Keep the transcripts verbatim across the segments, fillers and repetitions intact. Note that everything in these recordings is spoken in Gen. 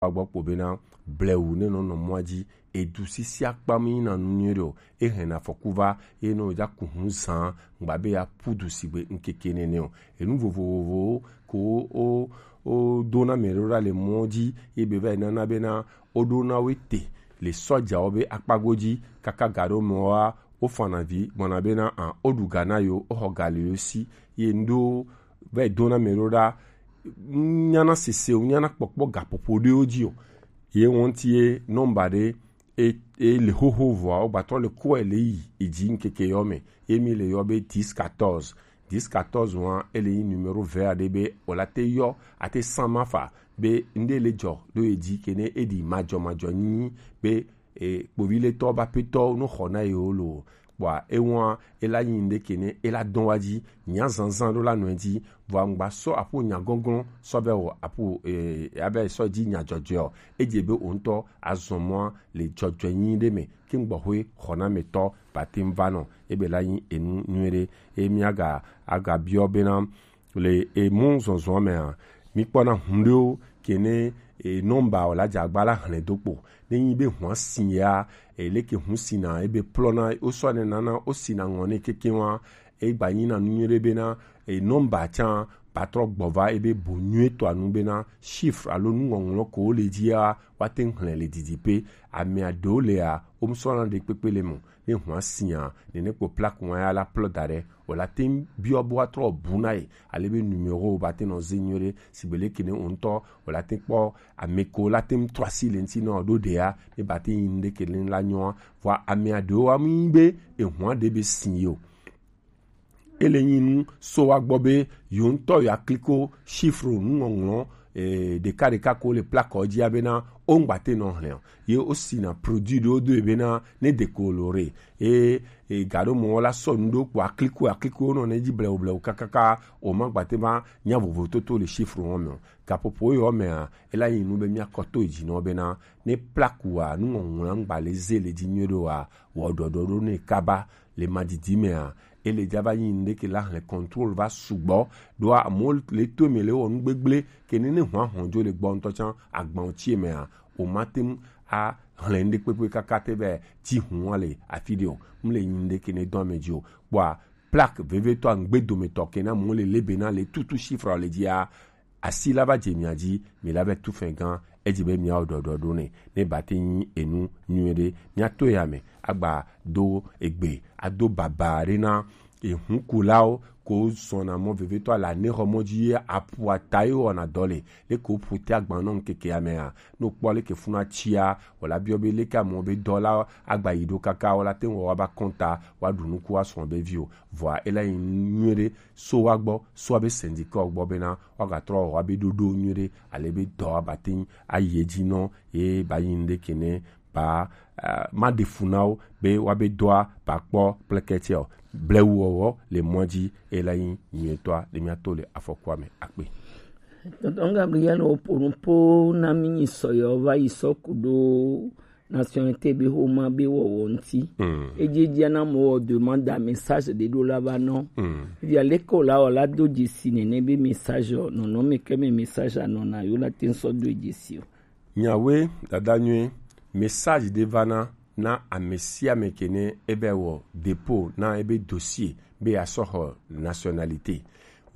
wa gbɔ kpo bena blewu ne nɔ nɔ mɔa dzi, edu sisi akpa mi na nu nyuie ɖe o, e hɛn afɔku va, e nɔ ja ku hu zan gba be ya pu du sigbe ŋkeke nene o. Enu vovovowo ko o o do na mɛ ɖo ɖa le mɔ dzi, ye be va yi nana bena o ɖo na wo te le sɔjawo be akpa godzi kaka ga ɖo mɔ wa o fana vi gbɔna bena an o ɖu ga na yo, o xɔ ga le yo si, ye ŋɖo va yi do na mɛ ɖo ɖa nyana sesewo, nyana kpɔkpɔ gaƒoƒo ɖewo dzi o. Ye ŋuti ye nɔmba ɖe e, e le xoxo vɔa, wogbatɔ le kɔe le yi edzi ŋkeke yɔ me. Ye mi le yɔ be dix quatorze. Dix quatorze wa, ele yi numéro vert aɖe be wòla te yɔ, ate san ma fa be ŋɖe le dzɔ ɖo edzi kene eɖi madzɔmadzɔ nyi be e, kpoviletɔ ba petɔ no xɔ na yewo lo. Kpɔa ewa ela nyi ŋɖe kene ela dɔn wa dzi, nya zanzan ɖo la nɔe dzi, vɔa ŋgba sɔ aƒo nya gɔngɔn sɔ be wɔ aƒo e, abe sɔ dzi nya dzɔdzɔe o. Edze be o ŋutɔ azɔ mɔa le dzɔdzɔe nyi ɖe me, ke ŋgbɔ hoe xɔna me tɔ ba te va nɔ, ebe la nyi enu nyuie ɖe. E mi aga aga biɔ bena le emu zɔzɔ mea, mi kpɔna hun ɖewo ke ne e nɔmba o la dze agba la hlẽ do kpo. Ne nyi be hua si ya, e leke hu si na ebe plɔna o sɔ ne nana o si na ŋɔ ne keke wa, e gba nyi na nu nyuie ɖe bena e nɔmba tsa ba trɔ gbɔ va ebe bo nyuie tɔ anu bena chiffre alo nuŋɔŋlɔ ko le dzi ya wa te hlẽ le didi pe. Ame aɖewo le ya o mu sɔ na ɖe kpekpe le mo. Ne hua sia, nene kpo plaque wa ya la plɔ da ɖe, o la te biɔ bo atrɔ bu na ye, ale be numéro ba te nɔ ze nyuie ɖe, sigbe leke ne o ŋutɔ o la te kpɔ ame ko la te trɔ asi le ŋuti nɔ ɖo ɖea, ne ba te yi ŋɖe ke ne la nyɔa, vɔa ame aɖewo wa mi be ehua ɖe be si yo. Ele nyi nu so wa gbɔ be yo ŋutɔ ya kliko chiffre nuŋɔŋlɔ e, ɖeka ɖeka ko le plaque dzi abena o ŋgba te nɔ hlẽ o. Ye o si na produit ɖewo do bena ne de ko lo re e, e ga ɖo mɔ la sɔ nu ɖo kpo akliko akliko nɔ ne dzi blewu blewu kakaka o ma gba te ma nya vovo toto le chiffre wo me o. Gaƒoƒo yɔ mea ela yi nu be mia kɔ to dzi nɔ bena ne plaque wa nuŋɔŋlɔ ŋgba le ze le dzi nyuie ɖo wa wɔ ɖɔɖɔ ɖo ne kaba le madidi mea ele dza va nyi ŋɖe ke la hlẽ contrôle va sugbɔ ɖoa amewo le to me le wɔ nu gbegblẽ ke ne ne hua hɔn dzo le gbɔ ŋutɔ tsã agbawo tsie mea o ma te ŋu a hlẽ ŋɖe kpekpe kaka te vɛ ti hua le afi ɖe o. Mu le nyi ŋɖe ke ne dɔ ame dzi o kpɔa plaque vevetɔ ŋgbe dometɔ ke na mo le lebe na le tutu chiffre le dzia asi la va dze mia dzi mi la vɛ tu fɛn gã edzi be miawo ɖɔɖɔ ɖo nɛ ne ba te nyi enu nyuie ɖe mia to ya me agba do egbe ado baba ɖe na ehunkulawo ko sɔna mɔ vevetɔ ala ne xɔ mɔ dzi ye apu ata ye wɔna dɔ le le ko ƒu te agba nɔ ŋkeke amea no kpɔ le ke funa tsia wala biɔ be le ke amɔ be dɔ la agba yi ɖo kaka wala te wɔ wa ba kɔnta wa ɖu nuku wa sɔn be vi o vɔa ela yi nyuie ɖe so wa gbɔ so wa be syndicat gbɔ bena wa ga trɔ wa be ɖoɖo nyuie ɖe ale be dɔ wa ba te ayi edzi nɔ ye ba yi ŋɖe ke ne ba ma ɖe fu na wo be wa be dɔa ba kpɔ kple kɛtsɛ o blewu wɔwɔ le mɔ dzi ela yi nyuietɔa le mia to le afɔkua me akpe. Tonton Gabriel, o ponu po na mi nyi sɔyɔ va yi sɔ ku ɖo nationalité be xoma be wɔwɔ ŋuti. Edzi dzia na mo wɔ demande a message ɖe ɖo la va nɔ. Via leke o la wɔ la do dzesi nene be message o nɔnɔ me ke me message a nɔna yo la te sɔ do dzesi o. Nyawe dada nyuie message ɖe va na na ame sia ame ke ne ebe wɔ dépôt na ebe dossier be asɔ xɔ nationalité.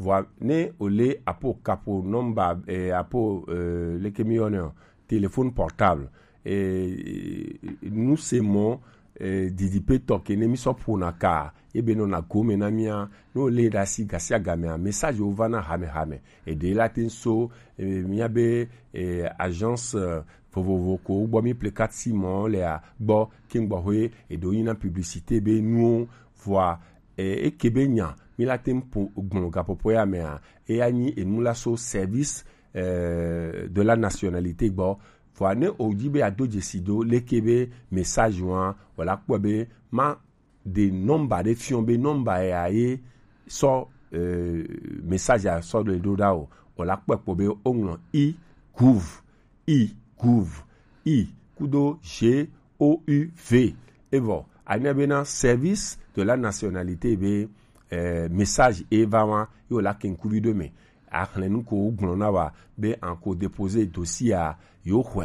Vɔa ne o le apo kapo nɔmba eh, apo eh, leke mi yɔnɛ o téléphone portable eh, nu se mɔ eh, didipe tɔ ke ne mi sɔ ƒona ka ebe nɔna gome na mia ne o le ɖe asi gasi agamea message wo va na hamehame eɖe la te so eh, mia be eh, agence eh, vovovo ko gbɔ mi ple carte sim lea gbɔ ke gbɔ hoe eɖewo nyina publicité be nuwo vɔa eh, eke be nya mi la te ŋu ƒo gblɔ gaƒoƒo ya mea eya nyi enu la so service eh, de la nationalité gbɔ vɔa ne o dzi be ado dzesi do leke be message wa wala kpɔ be ma de nɔmba ɖe fiɔ be nɔmba ya ye sɔ eh, message a sɔ ɖe ɖo ɖa o wala kpɔ kpɔ be o ŋlɔ i gouv i gouv i kudo g o u v evɔ anya bena service de la nationalité be eh, message e va wa ye wala kenkuvi ɖo me axlẽ nu ko wo gblɔ na wa be an ko déposer dossier a, yewo xɔe